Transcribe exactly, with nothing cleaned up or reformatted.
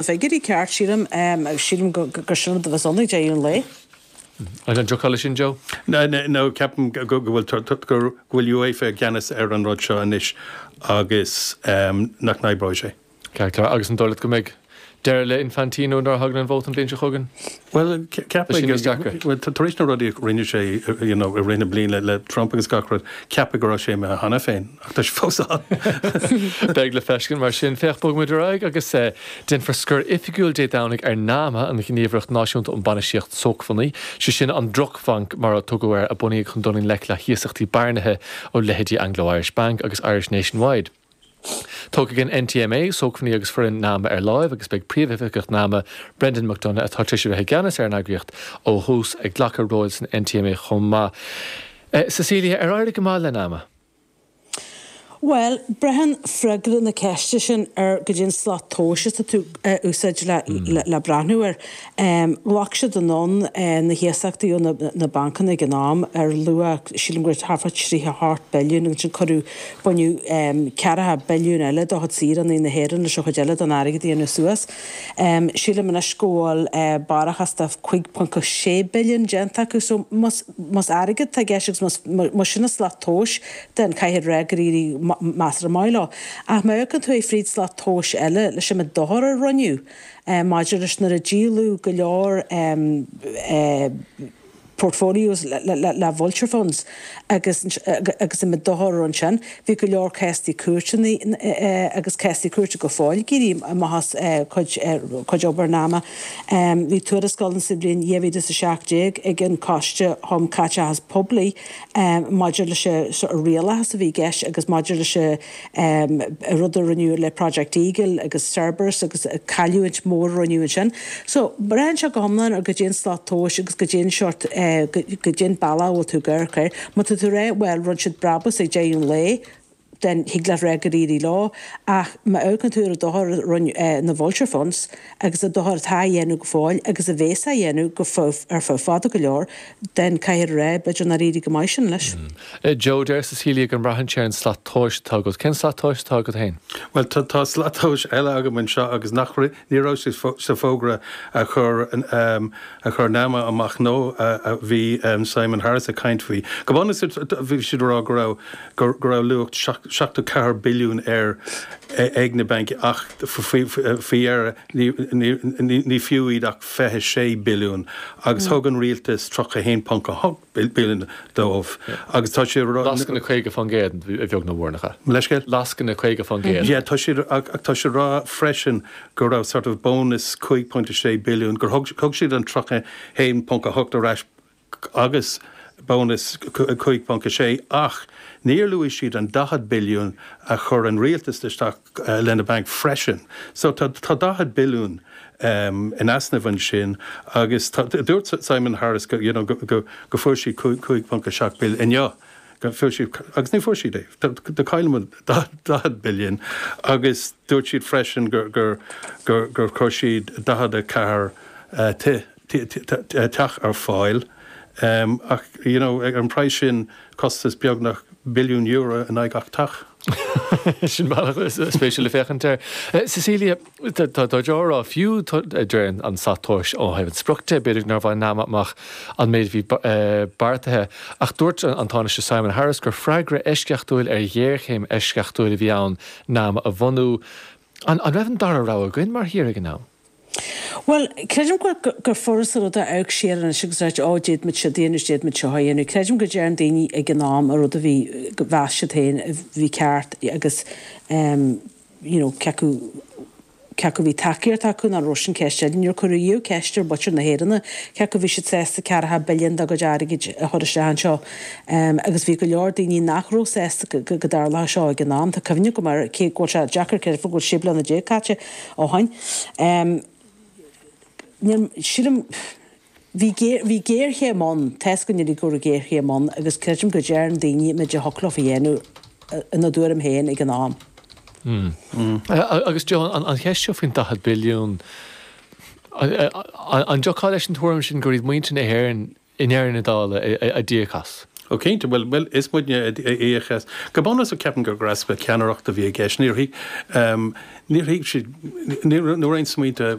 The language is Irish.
Figiúirí ceart sílim sílim gur sin a bheas ann ag deireadh an lae. An dtiocfá leis sin Joe? No, no, ceapaim go bhfuil go bhfuil UEFA i gceannas ar an rud seo anois agus nach n-oibreoidh sé. Ceart agus an dóigh leat go mbeidh deireadh le Infantino nuair a thagann an vóta an bhliain seo chugainn? Well ceapaim tar éis na rudaí a rinne sé you know, i rith na bliana le Trump agus gach rud ceapadh go raibh sé imithe cheana féin ach tá sé fós ann. Beidh le feiscint mar sin féach bogfaimid ar aghaidh agus eh, déanfar scor oifigiúil Dé Domhnaigh ar NAMA an Ghníomhaireacht Náisiúnta um Bainistíocht Sócmhainní, sé sin an drochbhanc mar a tugadh air a bunaíodh chun dul i ngleic le hiasachtaí bearnaithe ó leithéidí Anglo-Irish Bank agus Irish Nationwide. Tógfaidh an NTMA sócmhainní agus foireann NAMA ar láimh agus beidh príomhoifigeach NAMA Brendan McDonagh atá tar éis a bheith i gceannas ar an eagraíocht ó thús ag glacadh róil san NTMA chomh maith. Eh, Cecilia ar éirigh go maith le NAMA. Well, braitheann freagra na ceiste sin ar goidé an slat tomhais atá tú uh, úsáid le, mm. le, le breathnú air. Um, Ghlac siad anonn uh, na hiasachtaí ó na, na bancanna ag an am ar luach sílim gur thart fá tríocha hocht billiún agus sin cuireadh baineadh um, ceathracha billiún eile do chuid saoránaigh na hÉireann leis an chuid eile den airgead a dhéanamh suas. Um, sílim anois go bhfuil uh, barrachas de cúig ponc sé billiún déanta acu so más más airgead atá i gceist agus más sin an slat tomhais den caithfidh rá gur éirigh measartha maith leo. Ach má amharcann tú fríd slat tomhais eile leis an dochar a rinneadh maidir leis nuair a díoladh go leor um, uh, portfolios le, le, le vulture funds agus agus an dochar ansin bhí go leor céastaí cúirteanna agus céastaí cúirte go fóill ag éirí amach as cuid cuid obair NAMA. Bhí tuarascáil sa bhliain dhá mhíle is a seacht déag ag an Coiste um Chaiteachas Poiblí maidir leis an rialachas a bhí i gceist agus maidir leis an rud a rinneadh le Project Eagle agus Cerberus agus cailliúint mór a rinneadh ansin. So braitheann sé go hiomlán ar goidé an slat tomhais agus goidé an seort goidé an bealach bhfuil tú ag amharc air. Má tá tú rá well rinne siad brabús ag deireadh an lae, den thig leat rá gur éirigh leo ach má amharcann tú ar an dochar a rinne na vulture funds agus an dochar atá á dhéanamh go fóill agus a bheas á dhéanamh go ar feadh fada go leor den caithfidh rá b'fhéidir nár éirigh go maith sin leis. Joe deir Cecilia go mbraitheann sé ar an slat tomhais atá agat. Cén slat tomhais atá agat féin? Well tá tá slat tomhais eile agam anseo agus nach ní raibh sé sa fógra a chur um, a chur NAMA amach nó a bhí um, Simon Harris ag caint faoi. Go bunúsach bhí siad rá go raibh go raibh luach seachtó ceathair billiún ar ag na bainc ach faoi dheireadh ní fiú iad ach fiche sé billiún agus thug an rialtas tríocha haon ponc a hocht billiún dóibh agus tá sé Lascaine caoga faoin gcéad a bheag nó mhór nach ea. Leithscéal? Lascaine caoga faoin gcéad. Yeah, tá sé ach tá sé rá freisin go raibh sort of bonus cúig ponc sé billiún gur thug siad an tríocha haon ponc a hocht ar ais agus bonus cúig ponc sé ach níor luaigh siad an daichead billiún a chur an rialtas isteach uh, lena banc freisin. So tá tá daichead billiún um, in easnamh ansin agus dúirt Simon Harris go, you know, go, go, go fuair siad cúig ponc seacht billiún inniu. Fuair siad agus ní fuair siad é do chaill daichead billiún agus dúirt siad freisin gur gur gur gur chuir siad daichead a ceathair uh, teach ar fáil. Um, ach you know, an praghas sin costas beagnach billiún euro in aghaidh gach teach. Sin bealach spéisiúil le féachaint air. Cecilia tá rá fiú deir an slat tomhais ó thaobh an sprioc de b'fhéidir nár bhain NAMA amach an méid bhí beartaithe ach dúirt an Tánaiste Simon Harris gur freagra eisceachtúil ar ghéarchéim eisceachtúil a bhí ann NAMA a bhunú. An an raibh an dara rogha againn mar thír ag an am? Well, creidim gur gur furasta rud a amharc siar anois agus rá ó d'fhéadfadh muid seo a dhéanamh d'fhéadfadh muid seo a dhéanamh. Creidim go dtearn daoine ag an am a rud a bhí go mheas siad féin a bhí ceart agus um, you know, cé acu cé acu bhí tacaíocht acu nach raibh sin ceist eile. Níor cuireadh riamh ceist ar mhuintir na hÉireann cé acu bhí siad sásta ceathracha billiún dá gcuid airgid a chur isteach anseo. Um, agus bhí go leor daoine nach raibh sásta go go dtarlódh seo ag an am. Tá cuimhne agam air cé go bhfuil sé deacair creideamh go bhfuil sé bliana déag caite ó shin. Um, sílim bhí bhí géarchéim ann tá a fhios againn go raibh géarchéim ann agus creidim go dtearn daoine méid a thiocfadh leo a dhéanamh ina dtuairim féin ag an am. Mm. Agus Joe an cheist seo faoin daichead billiún an dtiocfá leis an tuairim sin gur iad muintir na hÉireann i ndeireadh na dála a d'íoc as. Ó cinnte well well is muidne a íoc as. Go bunúsach ceapaim gur easpa ceannaireachta a bhí i gceist. Níor thuig níor thuig siad ní raibh aon smaointe